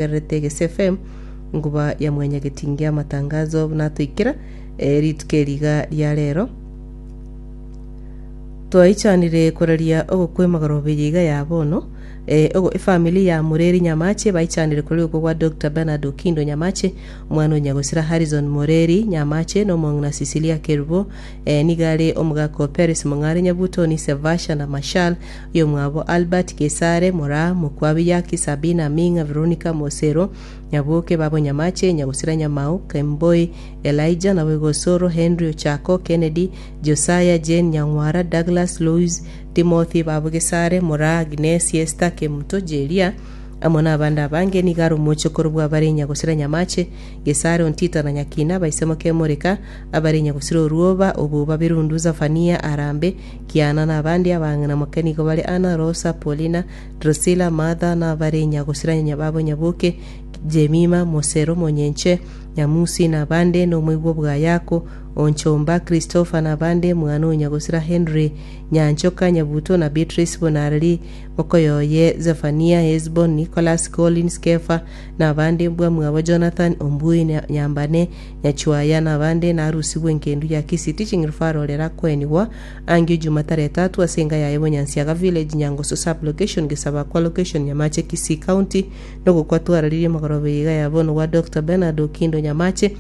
Otegererete Egese FM, enkuba ya mwanyagetinge amatangazo buna atoikera eh, rituko eri iga ria rero. Twaichanire koraria ogokwa emagoroba eye iga ya bono eh, ogo efamily ya Mureri Nyamache baichanire koraria ogokwa gwa Dr. Bernard Okindo Nyamache, omwana o Nyagosira Harrison Mureri Nyamache na omong'ina Cecilia Kerubo eh, nigo are omogaka o Peris Mong'are Nyabuto, Nise Vasha na Mashal Oyomwabo Albert, Gesare, Moraa, Mokwabi, Yaki, Sabina, Aming'a, Veronica, Mosero, Nyaboke, Babo Nyamache, Nyagosira Nyamao, Kemboi, Elijah, naboigo Osoro, Henry, Ochako, Kennedy, Josiah, Jane, Nyang'wara, Douglas, Louis, Timothy, Babo Gesare, Moraa, Agnes, Esther, Kemuto, Jeria, amo nabande abange. Nigo are omochokoro bw'abare Nyagosira Nyamache, Gesare, Ontita na Nyakina, abaise Mokemoreka, abare Nyagosira Oruoba, Obuba, Birundu, Zafania, Arambe, Kiana na abande abang'ina moke nigo bare Anna, Rosa, Paulina, Drusilla, Martha, na abare nyagosira nyababo Nyaboke, Jemima, Mosero, Monyenche, Nyamusi, na abande, na omoigwa bwa Yako, Onchomba, Christopher, na abande, mwana o nyagosira Henry, Nyanchoka, Nyabuto, na Beatrice, Bonareri, mokoyoye Zephania, Hesbon, Nicholas, Collins, Kefa, na abande, mbwa mwabo Jonathan, Ombui, Nyambane, Nyachuaya na abande narusigwe engendu ya Kisii Teaching Referral erakoenigwa angio Jumatara etatu ase enka yaye Bonyansiaga Village, Nyangoso Sub-location, Gesabakwa Location, Nyamache Kisii County nogokwa twararirie magoroba eye iga ya bono gwa Doctor Bernard Okindo Nyamache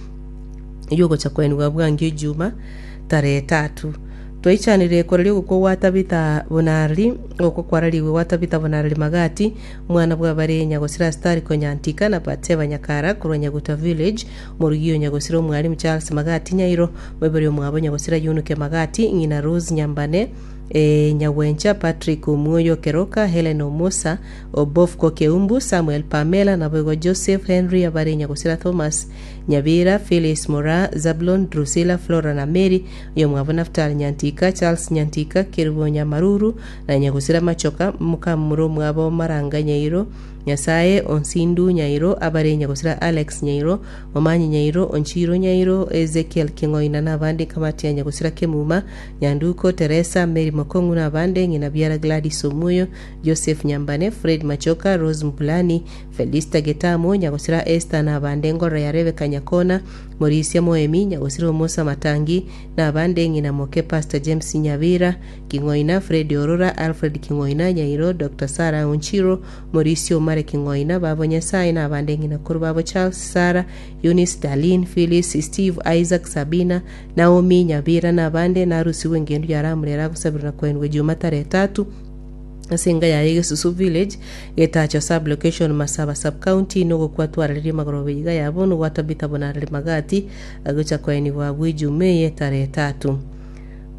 eyio ogocha koenigwa bwangio Juma tarehe etatu. Twaichanire koraria ogokwa gwa Tabitha Bonareri, ogokwa kwararigwe gwa Tabitha Bonareri Magati, Omwana bw'abare Nyagosira Astari Konyantika na Batseba Nyakara korwa Nyaguta Village, Omorugi o Nyagosira Omwalimu Charles Magati Nyairo, Moibori omwabo Nyagosira Yunuke Magati, Ng'ina Rose Nyambane, e, Nyagwencha Patrick Omwoyo Keroka, Helen Omosa, Obofko Keumbu, Samuel Pamela, naboigo Joseph Henry abare Nyagosira Thomas Nyabira, Phyllis Moraa, Zablon, Drusilla, Flora na Mary, oyomwabo Naftali Nyantika, Charles Nyantika, Kerubo Nyamaruru, na Nyagosira Machoka, mokamura omwabo Maranga Nyairo, Nyasae Onsindu Nyairo, abare Nyagosira Alex Nyairo, Momanyi Nyairo, Onchiro Nyairo, Ezekiel King'oina na abande Kamati ya Nyagosira Kemuma, Nyanduko, Teresa, Mary Mokong'u na abande, Ng'ina Biara Gladys Omuyo, Joseph Nyambane, Fred Machoka, Rose Mpulani, Felista Getamu, Nyagosira Esther na abande Ngorora ya Rebecca Nyakona, Morisia Moemi, Nyagosira Omosa Matangi, na abande Ng'ina Moke Pastor James Nyabira, King'oina, Fred Orora, Alfred King'oina, Nyairo, Doctor Sarah Onchiro, Mauricio Omare King'oina, babo Nyasae na abande ng'ina korwa babo Charles, Sarah, Eunice, Darlene, Phyllis, Steve, Isaac, Sabina, Naomi, Nyabira na abande narusigwe engendu ya Ramura eragosabirwe na koenigwa Juma tarehe tatu ase enka yaye Gesusu Village, Getacho Sub-location, Masaba Sub-county, nogokwa twararerie magoroba iga ya bono gwa Tabitha Bonareri Magati agocha koenigwa abwo Ejuma eye tarehe tatu.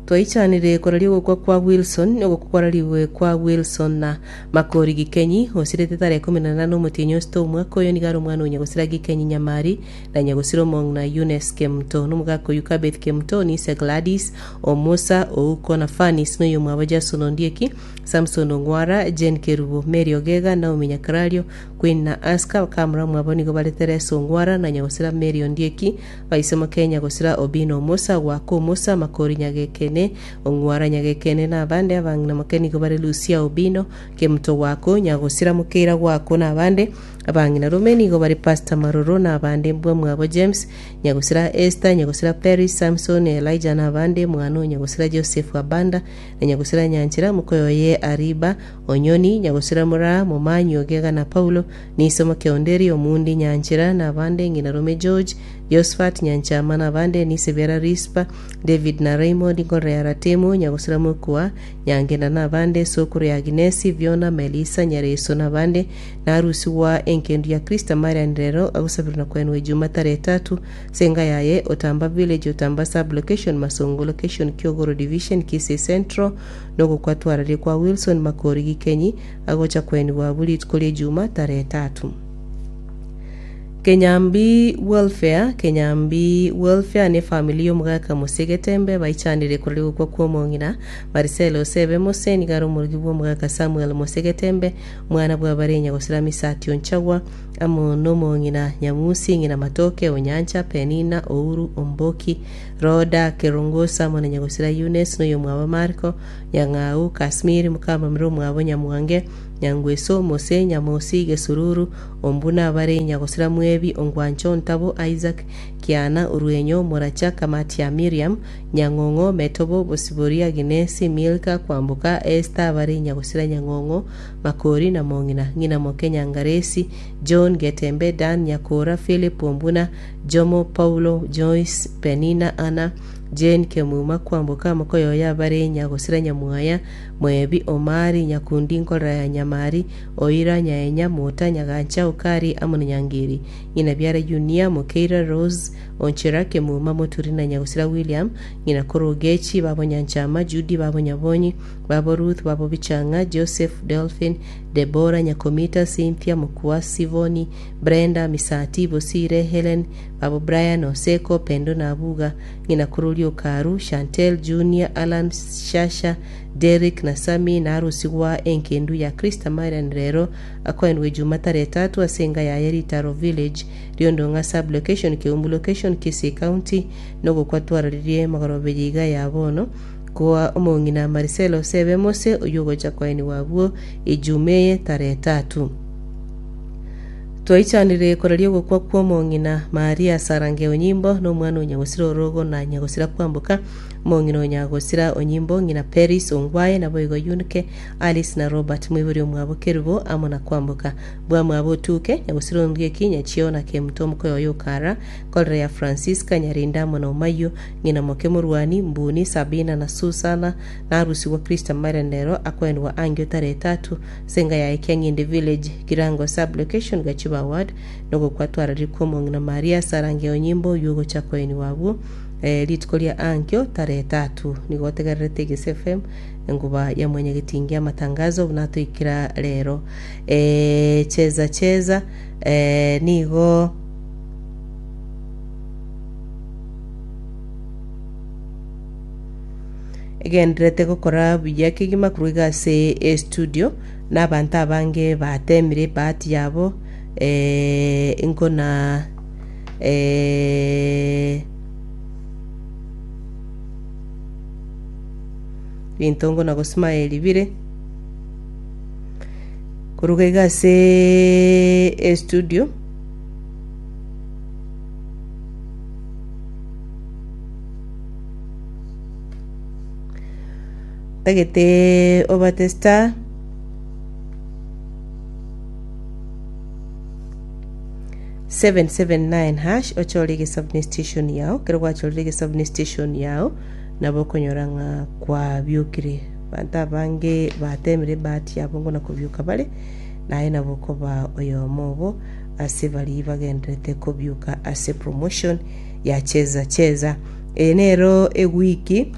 Twaichanire koraria ogokwa kwa Wilson, ogokwa kwararigwe kwa Wilson na Makori Gikenyi, osirete tarehe ikomi na nane omotienyi osito omwaka oyo nigo are omwana o Nyagosira Gikenyi Nyamari na Nyagosira omong'ina Eunice Kemuto na omogaka oyio Kabeth Kemuto Nise Gladys Omusa Ouko na Fanis na oyomwabo Jason Ondieki Samson Ong'wara Jane Kerubo Mary Ogega Naomi Nyakarario Queen na Aska bakamura omwabo nigo bare Teresa Ong'wara na Nyagosira Mary Ondieki Baise Mokenya gosira Obino Omosa, Gwaka Omosa, Makori Nyagekene, Ong'wara Nyagekene, na abande abang'ina moke nigo bare Lucia Obino, Kemuto Gwako, Nyagosira Mokeira Gwako, na abande abang'ina rome nigo bare Pastor Maroro, na abande mbwa mwabo James, Nyagosira Esther, Nyagosira Peris, Samson, Elijah, na abande mwana o Nyagosira Joseph Abanda, na Nyagosira Nyanchera, mokoyo oye Ariba, Onyoni, Nyagosira Moraa, Momanyi Ogega na Paulo, Niso Mokeonderi, Omundi Nyanchera, na abande ng'ina rome George, Josphat Nyanchama, na abande Nise biara Rispa, David na Raymond, Ngorora ya Ratemo, Nyagosira Mokua, Nyangena, na abande Sokoro ya Aginesi, Viona, Melisa, Nyareso, na abande Narusigwa engendu ya Krista Marian rero agosabirwa na koenwa Ejuma tarehe tatu ase enka yaye Otamba Village, Otamba Sub Location, Masongo Location, Kiogoro Division, Kisii Central, nogokwa twararie kwa Wilson Makori Gikenyi agocha koenigwa abwo rituko ri'Ejuma tarehe tatu. Kenyambi Welfare Kenyambi Welfare nefamili y'omogaka Mose Getembe baichanire korwa gokwa kw'omong'ina Marcel Osebe Mose nigo are omorogi bw'omogaka Samuel Mose Getembe omwana bw'abarenya gosira Misati Onchagwa. amo nomong'ina Nyamusi, ng'ina Matoke, Onyancha, Penina, Ouru, Omboki, Roda, Kerongosa, amo na nyagosira Eunice, na oyomwabo Mariko, Nyang'au, Kasmiri, mokamamira omwabo Nyamwange, Nyangweso, Mose, Nyamosi, Gesururu, Ombuna, abare nyagosira Mwebi, Ongwancho, Ntabo, Isaac, Kiana, Orwenyo, Moracha, Kamati ya Miriam, Nyang'ong'o, Metobo, Bosibori, Aginesi, Milka, Kwamboka, Esther, abare nyagosira Nyang'ong'o, Makori, na Mong'ina, ng'ina moke Nyangaresi, John, Getembe, Dan, Nyakora, Philip, Ombuna, Jomo, Paulo, Joyce, Penina, Anna, Jane, Kemuma, Kwamboka, mokoyoyo abare nyagosira Nyamwaya, Mwebi, Omari, Nyakundi, Nkorera ya Nyamari, Oira, Nyaenya, Mota, Nyagancha, Okari, amo na Nyangeri. Ng'ina biara Yunia, Mokeira, Rose, Onchera, Kemuma, Moturi na Nyagosira William, ng'ina korwa Ogechi, babo Nyanchama, Judy, babo Nyabonyi, babo Ruth, babo Bichang'a, Joseph, Delphin, Debora, Nyakomita, Cynthia, Mokua, Sivoni, Brenda, Misati, Bosire, Helen, babo Brian, Oseko, Pendo na Abuga, ng'ina korwa Riokaru, Chantel, Junior, Allan, Shasha, Derrick na Sammy, na arusigwa enkendu ya Krista Marian rero akoenigwa ejuma tarehe tatu ase enga yaye Ritaro Village, Riondong'a Sub-location, Keumbu Location, Kisii County, nogokwa twararirie magoroba eye iga ya bono koa omong'ina Marcelo Osebe Mose oyio ogocha koenigwa abwo ejuma eye tarehe tatu. Twaichanire koraria ogokwa kw'omong'ina Maria Sarange Onyimbo na omwana o Nyagosira Orogo na Nyagosira Kwamboka, omong'ina o Nyagosira Onyimbo, ng'ina Peris Ongwae, naboigo Yunike, Alice na Robert moibori omwabo Kerubo amo na Kwamboka. Bwamwabo Otuke, Nyagosira Ondieki, Nyachio na Kemuto omokoyo oye Okara, Kolera ya Francisca, Nyarinda amo na Omayio, ng'ina moke Morwani, Mbuni, Sabina na Susana, na arusigwa Krista Marian rero akoenigwa angio tarehe tatu Senga yaye Kiang'indi Village, Kirango Sub-location, Gachiba Ward, nogokwa twararire kw'omong'ina Maria Sarange Onyimbo oyio ogocha koenigwa abwo eh, rituko ria ankio tarehe tatu. Nigo otegererete Egese FM enguba ya mwenyegetingi amatangazo buna atoikera rero. Eh, cheza cheza eh, nigo Egendererete gokora buya kegima korwa iga ase estudio, na abanto abange batemire ebahati yabo eh, nkona eh, binto nkona gosmile bire koruga iga ase estudio. Ntagete obate star 779 hash ochore egesabuni station yao kero gwachorire egesabuni station yao nabo okonyora ng'a kwabiokire abanto abange batemire ebahati yabo ngona kobioka bare naye nabo okoba oyomo obo ase baria bagenderete kobioka ase promotion ya cheza cheza eye nero ewiki.